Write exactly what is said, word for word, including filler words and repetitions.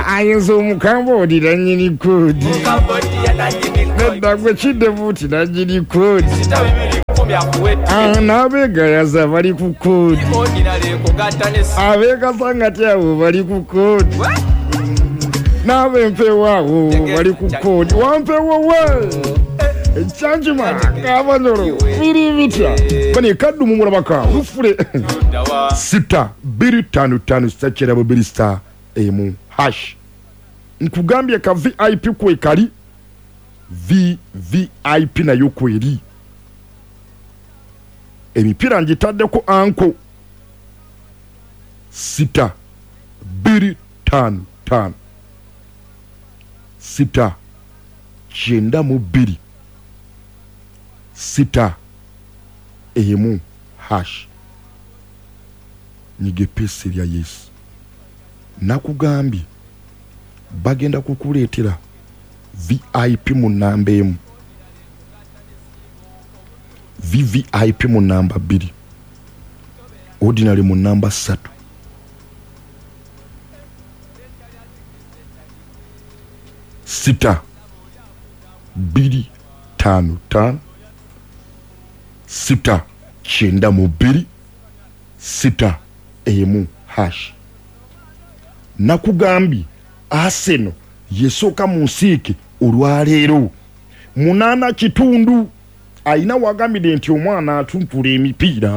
Ayinza omukambodi nanyini kodi. Nedda gwe kiddebuuti nanyini kodi. N'abeegayaza bali ku kodi. Abeegasangati abo bali ku kodi. N'abempewo abo bali ku kodi. Wampewo we! Kyanjuma kabanyolo biri bitya? Bane kaddu mumulabaka lufule sita bbiri ttaano ttaano sita kyerabo bbiri sita emu hash. Nkugambye ka V I P kwe kali, V V I P nayo kweri. Emipiira ngitaddeko anko sita bbiri ttaano ttaano sita kyenda mu bbiri sita emu hash. Nyiga epesi erya Yesu. Nakugambye bagenda kukuleetera V I P mu namba emu, V V I P mu namba bbiri, ordinary mu namba ssatu. Sita bbiri ttaano ttaano sita kyenda mu bbiri sita emu hash. Nakugambye Arsenal yesooka mu nsiike olwaleero munaana kitundu. Ayina wagambidde nti omwana atumpula emipiira.